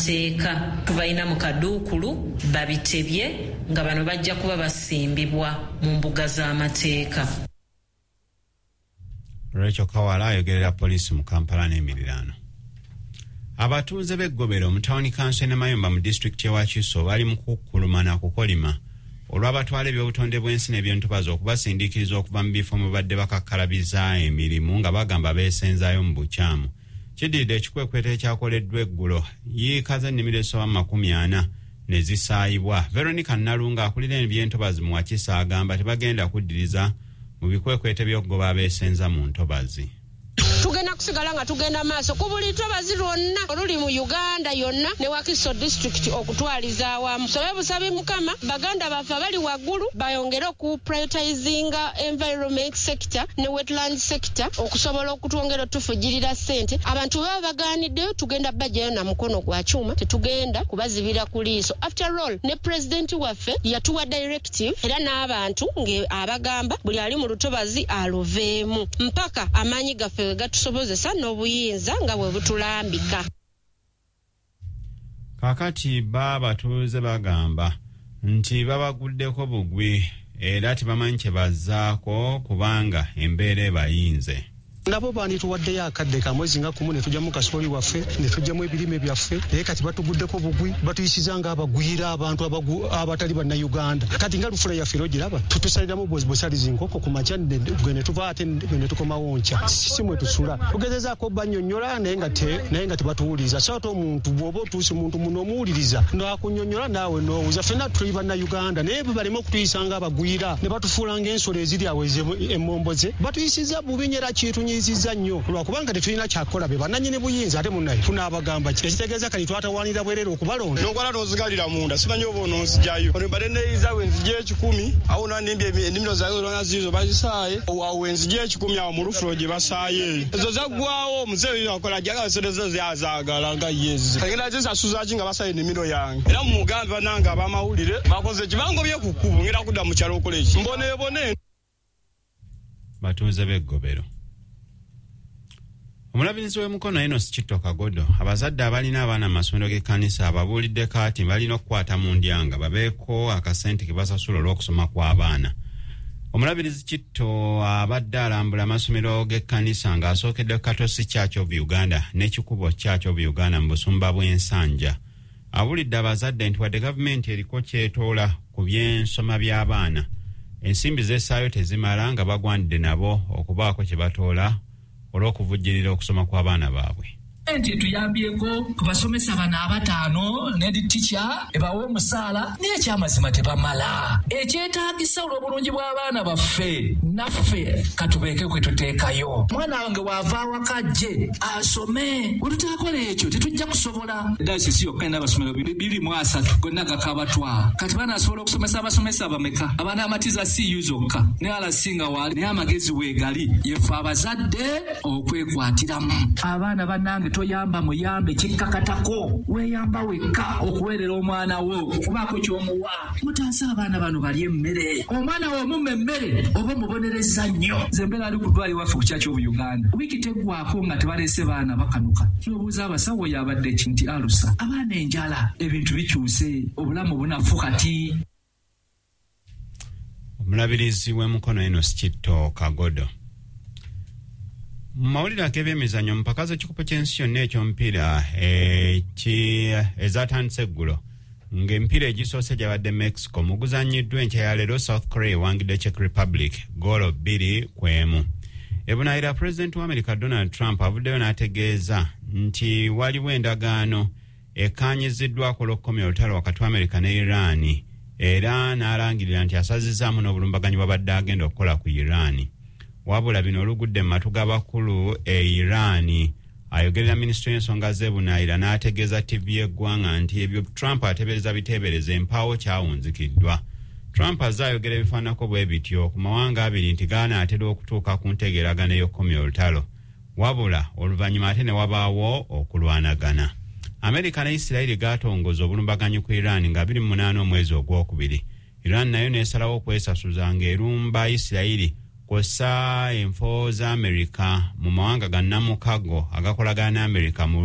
z'amateeka tubalina mu kaduukulu babitebye nga bano bajja kuba basimbibwa mu mbuga z'amateeka. Rachel Kawala ayogerera poliisi mu Kampala n'emiriraano. Abatuuze b'eggobero mu tawuni kanso e Namayumba mu disitulikiti y'e Wakiso bali mu kukkuluma na kukolima olw'abatwala ebyobutonde bw'ensi n'ebyentobazi okubasindiikiriza okuva mu bifo mwe badde bakakkalabiza emirimu nga bagamba beesenzaayo mu bukyamu. Kiddiridde ekikwekweto ekyakoleddwa eggulo yiika z'ennimiro ezisoba mu 40 ne zisaayibwa. Veronica Nalunga akulira ebyentobazi mu Wakiso agamba tebagenda kuddiriza mu bikwekweto by'okugoba abeesenza mu ntobazi. Tugenda kusigala nga tugenda maaso ku buli ntobazi lwonna oluli mu Uganda yonna ne Wakiso disitulikiti okutwaliza awamu. Sobe busabi Mukama baganda baffe abali waggulu bayongere okuprioritizinga environment sector ne wetland sector okusobola okutwongera otufujirira ssente. Abantu baba bagaaniddeyo tugenda bajjayo na mukono gwa kyuma, tetugenda kubazibira ku liiso. After all ne pulezidenti waffe yatuwa directive era n'abantu ng'abagamba buli ali mu lutobazi aluveemu mpaka amaanyi gaffe we gatusobozesa n'obuyinza nga bwe butulambika. Kaakati batuuze bagamba nti babaguddeko bugwi era tebamanyi kye bazzaako kubanga embeera ebayinze. Nabo bandituwaddeyo akadde ka mwezi nga 10 ne tujjamu kasooli waffe ne tujjamu ebirime byaffe, naye kati batuguddeko bugwi, batuyisiza ng'abagwira abantu abatali bannayuganda. Kati nga lufula yaffe era ogiraba tutusaliramu busalizi nkoko ku makya gwe ne tuva ate gwe ne tukomawo nkya, si mwe tusula. Tugezezaako bannyonnyola naye nga tebatuwuliriza. So ate omuntu bw'oba otuuse muntu muno omuwuliriza n'akunnyonnyola naawe n'owuza. Ffenna tuli bannayuganda naye baleme okutuyisa ng'abagwira ne batufuula ng'ensolo eziri awo emmomboze. Batuyisiza bubi nnyo era kitunyi nnyo lwakubanga tetulina kyakola, be bannannyini buyinza ate munnaye tunaabagamba ki? Ekitegeeza kati twatawaanira bwerere okubalonda. N'okwala n'ozigalira munda simanyi oba onoonzijayo. Ono mbadde neeyiza bwe nzija 1,000 awo nandimbye ennimiro zange zonna ziizo bazisaaye awo we nzija 1,000 awo mu lufulo gye basaaye ezo zaggwawo. Omuzeeyi akola ajjaga ensolo zo zazaagala nga yezi agenda zisasuza ki nga basaaye ennimiro yange. Era mumugambe bannange ab'amawulire bakoze ki, bangobye ku kkubo ngenda kudda mu kyalo okola eki mboneebone. Batuuze b'eggobero. Omulabirizi w'e Mukono Enos Kitto Kagodo abazadde abalina abaana mu masomero g'ekkanisa ababuuliddeko ati balina okukwata mu ndyanga babeeko akasente ke basasula olw'okusoma kw'abaana. Omulabirizi Kitto abadde alambula amasomero g'ekkanisa ng'asookedde Katosi Church of Uganda n'Ekikubo Church of Uganda mu busumba bw'Ensanja. Abuulidde abazadde nti wadde gavumenti eriko kyetoola ku by'ensoma by'abaana, ensimbi z'essaayo tezimala nga bagwanidde nabo okubaako kye batoola olw'okuvujjirira okusoma kw'abaana baabwe. Nti tuyambyeko ku basomesa bano abataano ne tica ebawa omusaala, naye ekyamazima tebamala. Ekyetaagisa olw'obulungi bw'abaana baffe naffe katubeeke kwe tuteekayo. Mwana wange waava awaka ajje asome, bwe tutaakola ekyo tetujja kusobola. Dayosisi yokka erina amasomero 230 gonna gakabatwa. Kati banaasobola okusomesa abasomesa bameka abanaamatiza CU zokka ne RC nga waali, naye amagezi weegali yeffe abazadde okwekwatiramu. Abaana bannange toyamba muyambe kikkakatako, weeyamba wekka okuweerera omwana wo okubaako ky'omuwa. Mutaase abaana bano balye emmere. Omwana wo omumma emmere oba omubonereza nnyo. Nze mbeera ali ku ddwaliro waffe ku Church of Uganda, wiiki teggwaako nga tebaleese baana bakanuka. N'obuuza abasawo oyo abadde ki nti alusa. Abaana enjala, ebintu bikyuse, obulamu bunafu kati. Omulabirizi w'e Mukono Enos Kitto Kagodo. Mu mawulire ag'ebyemizannyo, mu mpaka z'ekikopo ky'ensi yonna ekyomupiira ezatandise eggulo ng'emipiira egisoose gyabadde Mexico, mu guzannyiddwa enkya ya leero South Korea ewangidde Czech Republic goolo 2-1. Ebunaayira, pulezidenti wa America Donald Trump avuddeyo n'ategeeza nti waliwo endagaano ekkaanyiziddwako olw'okukomya olutalo wakati wa America ne Iran, era n'alangirira nti asazizaamu n'obulumbaganyi bwabadde agenda okukola ku Iran. Wabula bino olugudde mu matu g'abakulu e Iran, ayogerera minisitule y'ensonga z'ebunaayira n'ategeeza ttivi y'eggwanga nti ebyo Trump ateebereza biteebereza, empaawo kyawunzikiddwa. Trump azze ayogera ebifaananako bwe bityo ku mawanga abiri nti gaanaatera okutuuka ku ntegeeragano ey'okukomya olutalo, wabula oluvannyuma ate ne wabaawo okulwanagana. Amerika ne Isirayiri gaatongoza obulumbaganyi ku Iran nga 28 omwezi ogwokubiri. Iran nayo n'esalawo okwesasuza ng'erumba Isirayiri kw'ossa enfo za Amerika mu mawanga gannamukago agakolagana ne Amerika mu